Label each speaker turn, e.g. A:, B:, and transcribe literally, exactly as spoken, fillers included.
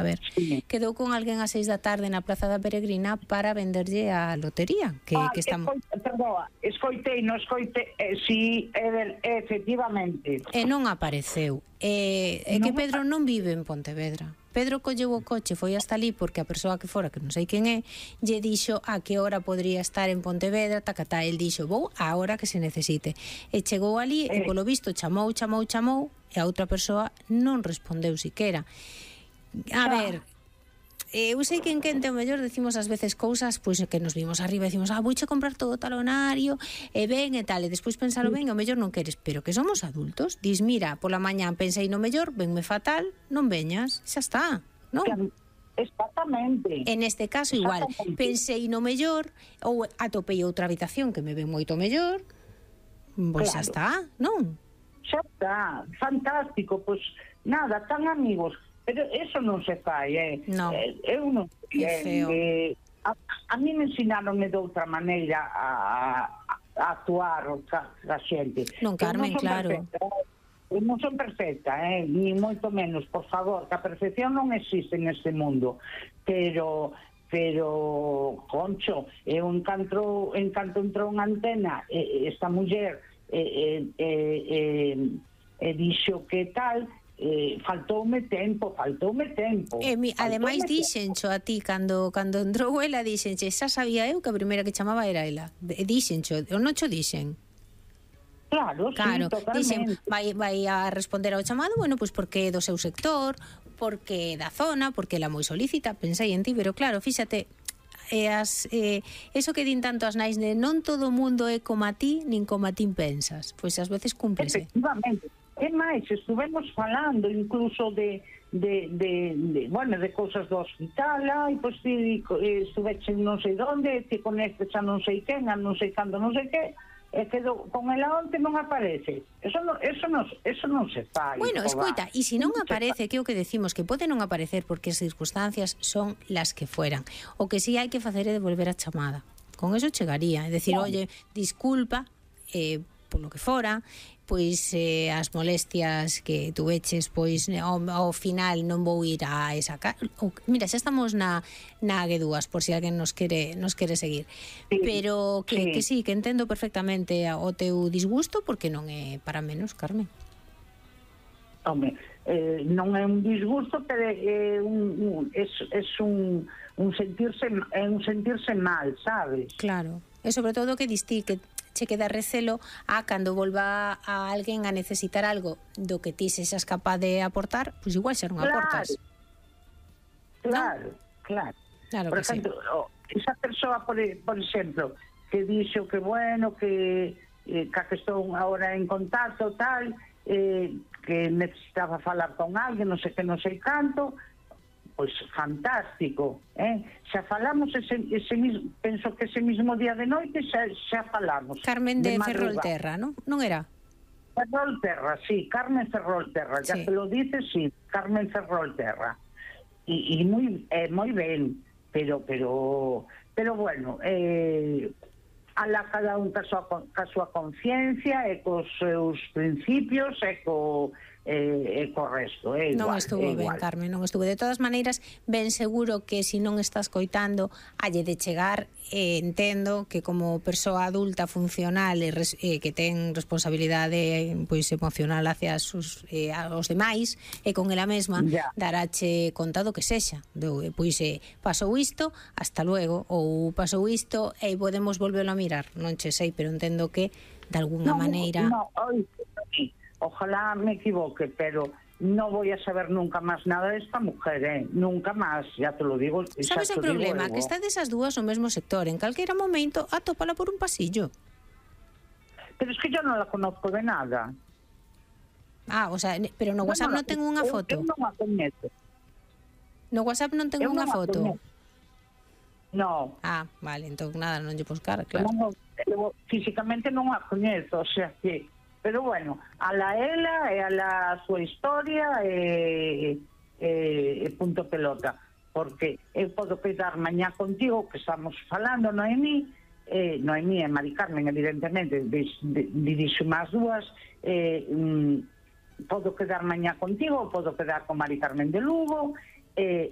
A: A ver, sí. Quedou con alguén ás seis da tarde na Praza da Peregrina para venderlle a lotería que,
B: ah,
A: que estamos...
B: Escoite, perdón, escoitei, non escoite eh, si, eh, efectivamente
A: e non apareceu e, é que Pedro non vive en Pontevedra. Pedro colleu o coche, foi hasta ali porque a persoa que fora, que non sei quen é, lle dixo a que hora podría estar en Pontevedra, tacatá, el dixo, vou a hora que se necesite, e chegou ali eh. e polo visto chamou, chamou, chamou e a outra persoa non respondeu siquera. A ver, eu sei que en Quente o mellor decimos ás veces cousas pois que nos vimos arriba e decimos, ah, vouche comprar todo o talonario e ben e tal, e despois pensalo ben e o mellor non queres, pero que somos adultos, dis, mira, pola mañá pensei no mellor, venme fatal, non veñas, xa está, non?
B: Exactamente.
A: En este caso igual, pensei no mellor ou atopei outra habitación que me ven moito mellor, pois xa está, non?
B: Xa está, fantástico, pois nada, tan amigos. Pero eso non se fai, eh?
A: No.
B: Eh, eu non
A: é feo.
B: Eh, a, a mí me ensinaronme de outra maneira a, a, a actuar ca, a xente.
A: Non, Carmen,
B: non
A: claro.
B: Perfecta, eu non son perfecta, eh? Ni moito menos, por favor, que a perfección non existe neste mundo. Pero pero concho, eu encanto encanto entrou unha antena, eh, esta muller eh, eh, eh, eh, dixo que tal. Eh, faltoume tempo, faltoume tempo.
A: E mi, ademais dixencho a ti cando cando entrou ela, dixenche, xa sabía eu que a primeira que chamaba era ela. Dixencho, ou non cho dixen?
B: Claro,
A: claro,
B: sí, totalmente.
A: Dixen, vai, vai a responder ao chamado, bueno, pois pues porque é do seu sector, porque da zona, porque ela moi solícita, pensei en ti, pero claro, fíxate, e as, eh, eso que din tanto as nais de non todo o mundo é como a ti, nin como a ti pensas, pois ás veces cúmplese.
B: Efectivamente. E máis, estuvemos falando incluso de, de, de, de bueno, de cousas do hospital, ai, pois ti estuveche non sei onde, ti conectes a non sei quen, a non sei cando, non sei que, e quedou con ela onte non aparece. Eso non, eso non, eso non se fai.
A: Bueno, escoita, e se non aparece, que é o que decimos, que pode non aparecer porque as circunstancias son las que fueran. O que si hai que facer é devolver a chamada. Con eso chegaría, é decir, oye, disculpa, eh, polo que fora, pois eh, as molestias que tuveches, pois ao, ao final non vou ir a esa casa. Mira, xa estamos na na G dúas, por si alguén nos quere nos quere seguir. Sí, pero que sí. que sí, que entendo perfectamente o teu disgusto, porque non é para menos, Carmen.
B: Home, eh, non é un disgusto, pero é un, un es, es un un sentirse é un sentirse mal, sabes?
A: Claro. E sobre todo que distí que che queda recelo a cando volva a alguén a necesitar algo do que ti sexas capaz de aportar, pois pues igual xa non
B: claro.
A: aportas.
B: Claro, ¿no? claro.
A: Claro.
B: Por
A: que
B: exemplo,
A: sí.
B: oh, esa persoa, por, por exemplo, que dixo que bueno, que eh, que estou agora en contacto, tal, eh, que necesitaba falar con alguén, non sei que, non sei canto, pois fantástico, eh? Xa falamos ese, ese mismo, penso que ese mismo día de noite xa, xa falamos.
A: Carmen de, de Ferrolterra, ¿no? Non era?
B: Ferrolterra, sí, Carmen Ferrolterra, ya sí. Te lo dices, sí, Carmen Ferrolterra. Y, y muy, eh, muy ben, pero, pero, pero bueno, eh, a la cada un ca súa, ca súa conciencia e cos seus principios e co eh, e co resto, é igual.
A: Non estuvo ben, Carmen, non estuvo. De todas maneiras, ben seguro que se non estás coitando, halle de chegar, eh, entendo que como persoa adulta funcional e res, eh, que ten responsabilidade pois emocional hacia sus, eh, aos demais e con ela mesma, yeah. Darache conta do que sexa. Do, pois eh, pasou isto, hasta luego, ou pasou isto e podemos volverlo a mirar. Non che sei, pero entendo que de alguna
B: no,
A: maneira...
B: No, oi, ojalá me equivoque, pero no voy a saber nunca más nada de esta mujer, ¿eh? Nunca más, ya te lo digo.
A: ¿Sabes o problema? Que está desas dúas no mesmo sector, en calquera momento atópala por un pasillo.
B: Pero es que yo no la conozco de nada.
A: Ah, o sea, pero no WhatsApp non ten unha foto.
B: Eu non a coñezo.
A: No WhatsApp non ten unha foto.
B: No.
A: Ah, vale, entón nada, non lle buscar, claro.
B: No, no, físicamente non a coñezo, o sea que... Pero bueno, a la ela e a la súa historia e, e, e punto pelota, porque eu podo quedar mañá contigo, que estamos falando, Noemí, eh, Noemí e Mari Carmen, evidentemente, dirixo máis dúas, eh, mm, podo quedar mañá contigo, podo quedar con Mari Carmen de Lugo, e